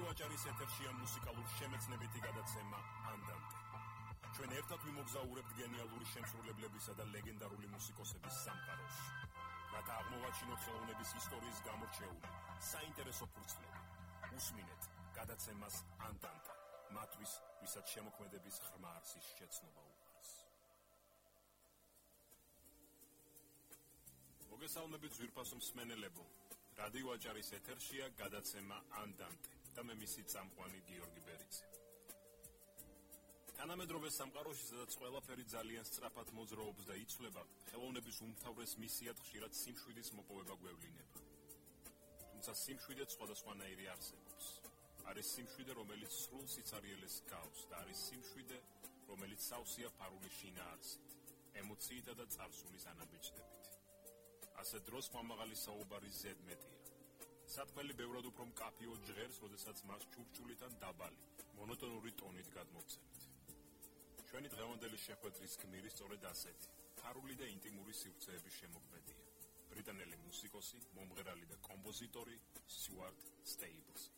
რადიო აჭარის ეთერშია მუსიკალური შემეცნებითი გადაცემა ანდანტე. ჩვენ ერთად ვიმოგზაურებთ გენიალური შემსრულებლებისა და ლეგენდარული მუსიკოსების სამყაროში. რათა აღმოვაჩინოთ ხელოვნების ისტორიის გამორჩეული საინტერესო ფურცლები. უსმინეთ გადაცემას ანდანტე. მათთვის, ვისაც შემოქმედების ღრმა არსის შეცნობა უყვარს. მოგესალმებით ძვირფასო მსმენელებო. რადიო აჭარის ეთერშია გადაცემა ანდანტე და მე მისი წამყვანი გიორგი ბერიძე. თანამედროვე სამყაროში, სადაც ყველაფერი ძალიან სწრაფად მოძრაობს და იცვლება, ხელოვნების უმთავრეს მისიად ხშირად სიმშვიდის მოპოვება გვევლინება. თუმცა სიმშვიდე სხვადასხვანაირი არსებობს. არის სიმშვიდე, რომელიც სრულ სიცარიელეს გავს და არის სიმშვიდე, რომელიც სავსეა ფარული შინაარსით, ემოციითა და წარსულის ანაბეჭდებით. ასე დროს მამაღალი საუბარი ზედმეტია. სათქმელი ბევრად უფრო მკაფიო ჟღერს, როდესაც მას ჩურჩულითან დაბალი, მონოტონური ტონით გადმოვცემთ. ჩვენი დღევანდელი შეხვედრის გმირი სწორედ ასეთი, ფარული და ინტიმური სივრცეების შემოქმედია. ბრიტანელი მუსიკოსი, მომღერალი და კომპოზიტორი სტიუარტ სტეიბლსი.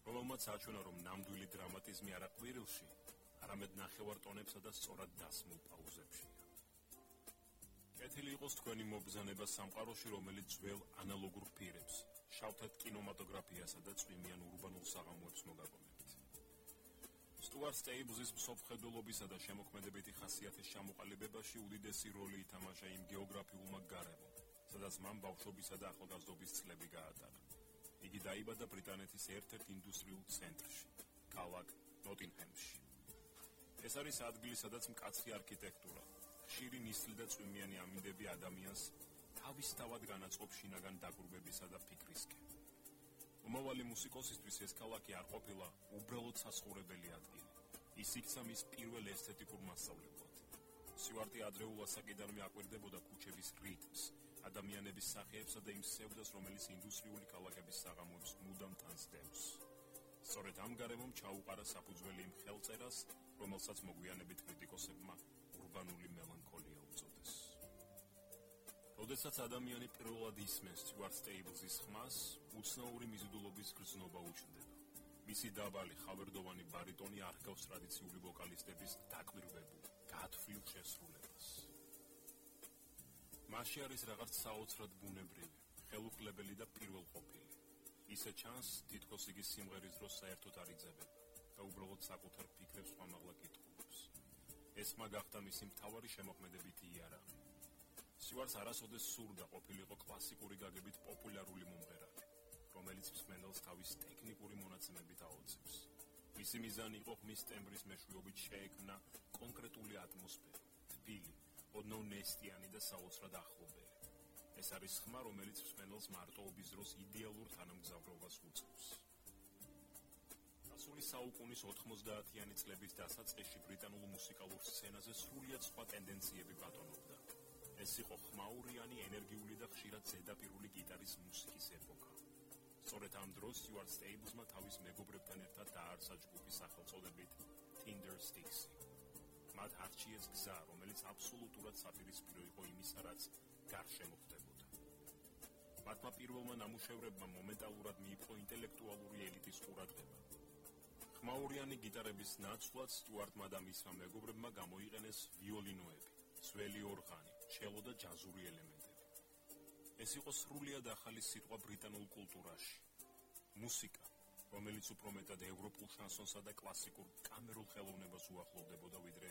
რომელმაც აჩვენა, რომ ნამდვილი დრამატიზმი არა ყვირილში, არამედ ნახევარ ტონებსა და სწორად დასმულ პაუზებშია. კეთილი იყოს თქვენი მობრძანება სამყაროში, რომელიც ძველ ანალოგურ პირებს, შავთად კინემატოგრაფიასა და წვიმიან ურბანულ საღამოებს მოგაგონებთ. სტიუარტ სტეიბლსის მსოფლმხედველობისა და შემოქმედებითი ხასიათის ჩამოყალიბებაში უდიდესი როლი ითამაშა იმ გეოგრაფიულმა გარემომ, სადაც მან ბავშვობისა და ახალგაზრდობის წლები გაატარა. იგი დაიბადა ბრიტანეთის ერთ-ერთ ინდუსტრიულ ცენტრში, ქალაქ ნოტინგემში. ეს არის ადგილი, სადაც მკაცრი არქიტექტურა, ხშირი ნისლი და წვიმიანი ამინდები ადამიანს თავისთავად განაწყობს შინაგან დაკვირვებისა და ფიქრისკენ. მომავალი მუსიკოსისთვის ეს ქალაქი არ ყოფილა უბრალოდ სასხურებელი ადგილი. ის იქცა მის პირველ ესთეტიკურ მასწავლებლად. სტიუარტი ადრეულ ასაკიდანვე აკვირდებოდა ქუჩების რიტმს, ადამიანების სახეებსა და იმ სევდას, რომელიც ინდუსტრიული ქალაქების საღამოებს მუდამ თანსდევს. სწორედ ამ გარემომ ჩაუყარა საფუძველი იმ ხელწერას, რომელსაც მოგვიანებით კრიტიკოსებმა ურბანული მელანქოლია უწოდეს. როდესაც ადამიანი პირველად ისმენს სტიუარტ სტეიბლსის ხმას, უცნაური მიზიდულობის გრძნობა უჩნდება. მისი დაბალი, ხავერდოვანი ბარიტონი არ ჰგავს ტრადიციული ვოკალისტების დაკვირვებულ, გათვლილ შესრულებას. მასში არის რაღაც საოცრად ბუნებრივი, ხელუხლებელი და პირველყოფილი. ისე ჩანს, თითქოს იგი სიმღერის დროს საერთოდ არ იძებება და უბრალოდ საკუთარ ფიქრებს ხმამაღლა კითხულობს. ეს მაგახდა მისი მთავარი შემოქმედებითი იარაღი. სტიუარტს არასოდეს სურდა ყოფილიყო კლასიკური გაგებით პოპულარული მომღერალი, რომელიც მსმენელს თავის ტექნიკური მონაცემებით აოცებს. მისი მიზანი იყო ხმის ტემბრის მეშვეობით შეექმნა კონკრეტული ატმოსფერო, თბილი, ოდნავ ნესტიანი და საოცრად ახლობელი. ეს არის ხმა, რომელიც მსმენელს მარტოობის დროს იდეალურ თანამგზავრობას უწევს. გასული საუკუნის 90-იანი წლების დასაწყისში ბრიტანულ მუსიკალურ სცენაზე სრულიად სხვა ტენდენციები ბატონობდა. ეს იყო ხმაურიანი, ენერგიული და ხშირად ზედაპირული გიტარის მუსიკის ეპოქა. სწორედ ამ დროს სტიუარტ სტეიბლსმა თავის მეგობრებთან ერთად დააარსა ჯგუფი სახელწოდებით Tindersticks. მათ არჩიეს გზა, რომელიც აბსოლუტურად საპირისპირო იყო იმისა, რაც გარშემო ხდებოდა. მათმა პირველმა ნამუშევრებმა მომენტალურად მიიპყრო ინტელექტუალური ელიტის ყურადღება. ხმაურიანი გიტარების ნაცვლად სტიუარტმა და მისმა მეგობრებმა გამოიყენეს ვიოლინოები, ძველი ორღანი, ჩელო და ჯაზური ელემენტები. ეს იყო სრულიად ახალი სიტყვა ბრიტანულ კულტურაში. მუსიკა, რომელიც უფრო მეტად ევროპულ შანსონსა და კლასიკურ კამერულ ხელოვნებას უახლოვდებოდა, ვიდრე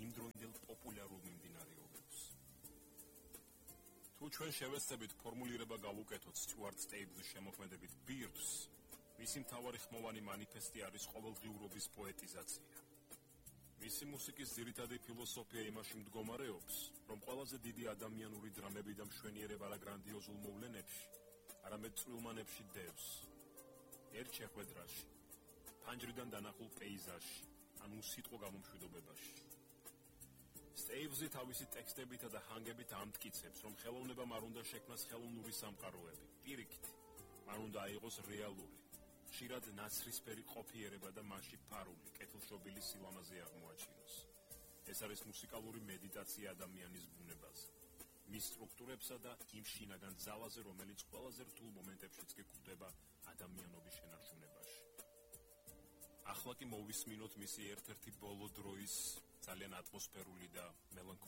იმდროინდელ პოპულარულ მიმდინარეობებს. თუ ჩვენ შევეცდებით ფორმულირება გავუკეთოთ სტიუარტ სტეიბლსის შემოქმედებით ბირთვს, მისი მთავარი ხმოვანი მანიფესტი არის ყოველდღიურობის პოეტიზაცია. მისი მუსიკის ძირითადი ფილოსოფია იმაში მდგომარეობს, რომ ყველაზე დიდი ადამიანური დრამები და მშვენიერება არა გრანდიოზულ მოვლენებში, არამედ წვრილმანებში დევს. ერთ შეხვედრაში, ფანჯრიდან დანახულ პეიზაჟში, ან უსიტყვო გამომშვიდობებაში. სტეიბლსი თავისი ტექსტებითა და ჰანგებით ამტკიცებს, რომ ხელოვნებამ არ უნდა შექმნას ხელოვნური სამყაროები, პირიქით, მან უნდა აიღოს რეალური, ხშირად ნაცრისფერი ყოფიერება და მასში ფარული, კეთილშობილი სილამაზე აღმოაჩინოს. ეს არის მუსიკალური მედიტაცია ადამიანის ბუნებაზე, მის სტრუქტურებსა და იმ შინაგან ძალაზე, რომელიც ყველაზე რთულ მომენტებშიც კი გვხვდება ადამიანობის შენარჩუნებაში. ახლა კი მოვისმინოთ მისი ერთ-ერთი ბოლო დროის ძალიან ატმოსფერული და მელანქოლიური